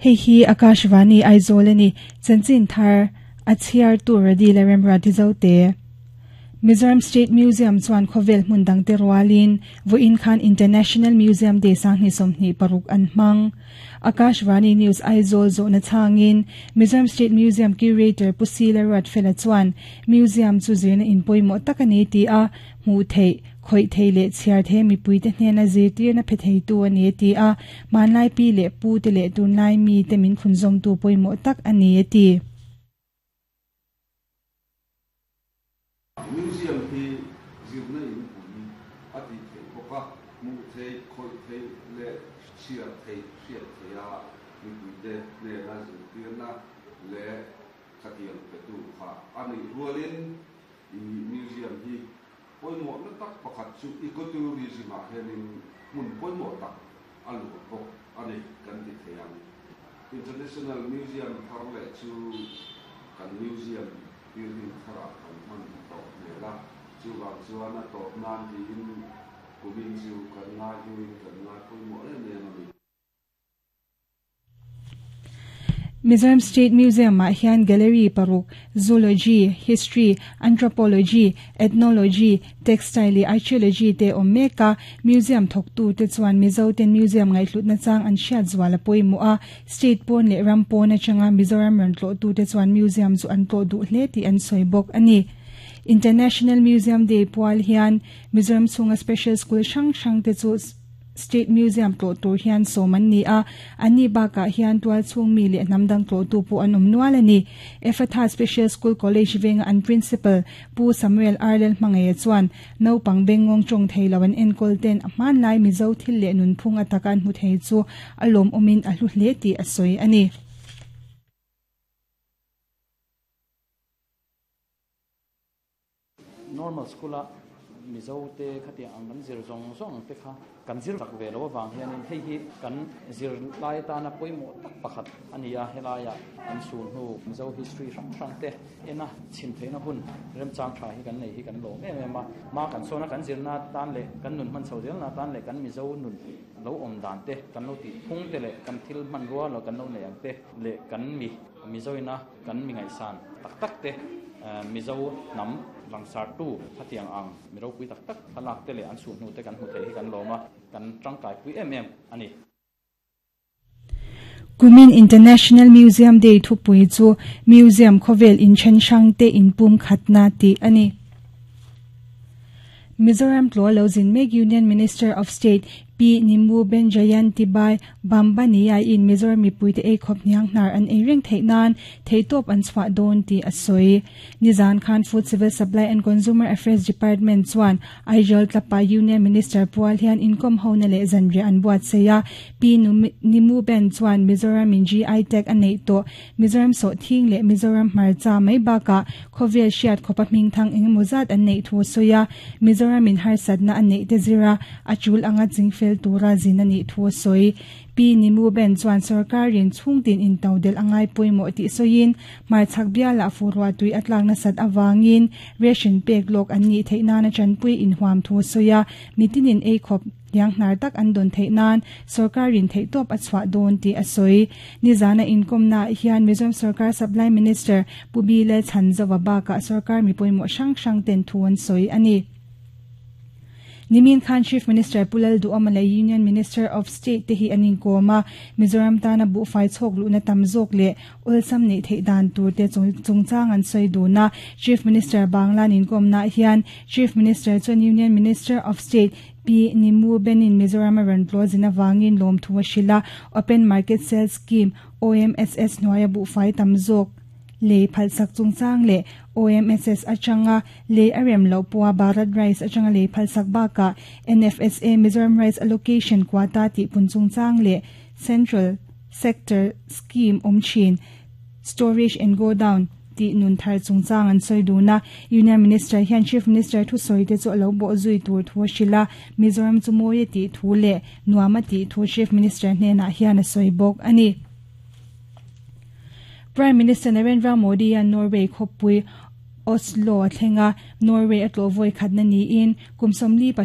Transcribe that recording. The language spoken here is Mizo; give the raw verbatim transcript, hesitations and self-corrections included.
Hei hi Akashvani Aizawl ani chanchin thar a chhiar tur radi le remra ti zo te. Mizoram State Museum chuan khawvel hmun dang te rualin vawiin khan International Museum Day sanghnih sawmhnih paruk an hmang. Akashvani News Aizawl zawhna changin Mizoram State Museum Curator Pu Sila Ruatfela chuan museum chu zirna in pawimawh tak ani ti a hmuh theih khawih thei leh chhiar thei mipui te hnena zirtirna phe thei tu ani ti a hmanlai pi leh pu te leh tunlai mi te min thlun zawm tu pawimawh tak ani ti. Museum hi zirna in pui a ti thei bawk a hmuh thei khawih thei leh chhiar thei hriat thei a mipui te hnena zirtirna leh khatiang pe tu kha ani rualin i museum hi pawimawh na tak pakhat chu ecotourism ah hianin hmun pawimawh tak a luah bawk ani kan ti thei ang. International Museum thar leh chu kan museum building tharah kan hman tawh hmel a chuwang chuan a tawp nan tiin kumin chu kan ngai hluin kan ngai pawimawh em em ani. Mizoram State Museum ah hian gallery paruk zoology, history, anthropology, ethnology, textile leh archaeology te awm mek a museum thawktu te chuan Mizo ten museum ngaihhlutna chang an hriat zual a pawimawh a state pawn leh ram pawn atanga Mizoram rawn tlawh tu te chuan museum chu an tlawh duh hle tih an sawi bawk ani. International Museum Day pual hian Mizoram chhunga special school hrang hrang te chu State Museum tlawh tur hian sawm an ni a ani bakah hian tual chhung mi leh hnam dang tlawh tu pawh an awm nual ani. Ephatha Special School College venga an principal Pu Samuel Arlel hmangaia chuan naupang bengngawng tawng thei lo an enkawl ten a hmanlai Mizo thil leh nunphung ataka an hmu thei chu a lawm awmin a hlu hle tih a sawi ani. Normal school a Mizo te khati ang kan zir zawng zawng te kha kan zir tak ve lo awang hianin hei hi kan zir lai tana pawimawh tak pakhat ani a helaia an sul hnu Mizo history hrang hrang te ena chim theihna hun remchang tha hi kan nei hi kan lawm em em a ma kan sawna kan zirna tan leh kan nun hman chho zelna tan leh kan Mizo nun lo awm dan te kan lo tih phung te leh kan thil hman rua lo kan lo nei ang te leh kan mi Mizoina kan mi ngaihsan tak tak te Mizo hnam langsar tu khatiang ang miro pui tak tak thlalak te leh an sul hnu te kan hmu thei hi kan lawm a kan tangkai pui em em ani. Kumin International Museum Day thupui chu museum khawvel in then hrang te in pum khatna ti ani. Mizoram tlaw lo zin mek Union Minister of State P Nimu Ben Jayanti Bai Bambania in Mizoram mipui te ei khawp hniang hnar an ei reng theih nan theitawp an chhuah dawn ti a sawi. Nizan khan Food Civil Supply and Consumer Affairs Department chuan Aizawl tlapa Union Minister pual hian inkom hona leh zanriah an buat sei a P Nimu Ben chuan Mizoram in G I tag a nei tawh Mizoram sawh thing leh Mizoram hmarcha mai bakah khawvel hriat khawpa hming thang engemaw zat an neih thu a sawi a Mizoram in harsatna an neih te zira a chul anga chingfel tura zin ani thu a sawi. P Nimu Ben chuan sarkarin chhungtin in todel angai pawimawh tih sawiin hmarchhak biala furwa tui a tlakna sat awangin ration pek lawk an nih theih nana chanpui in huam thu a sawi a mitinin ei khawp hniang hnar tak an dawn theih nan sarkarin theihtawp a chhuah dawn tih a sawi. Nizana inkomna hian Mizoram Sarkar Supply Minister Pu Bile Chhanzova bakah sarkar mi pawimawh hrang hrang ten thu an sawi ani. Nimin Khan Chief Minister Pulal Duhoma leh Union Minister of State te hi anin kawma Mizoram tana bu fai chhawk luhna tam zawk leh awlsam neih theih dan tur te chungchang an sawi dun a Chief Minister Bangla nin kawmna hian Chief Minister chuan Union Minister of State P Nimu Benin Mizoram a rawn tlaw zin awangin lawm thu a hrilh a Open Market Sales Scheme O M S S hnuaia bu fai tam zawk le phalsak chungchang le O M S S atanga le arem lo puwa Bharat Rice atanga le phalsak baka N F S A Mizoram Rice Allocation quota ti pun chungchang le Central Sector Scheme omchin Storage and Go Down ti nun thar chungchang an soi duna Union Minister hian Chief Minister thu soi te chu lo bo zui tur thu shila Mizoram chu moye ti thu le nuama ti thu Chief Minister hnena hian a soi bok ani. Prime Minister Narendra Modi an Norway khawpui Oslo a thlenga Norway a tlawh vawi khatna niin kum sawmli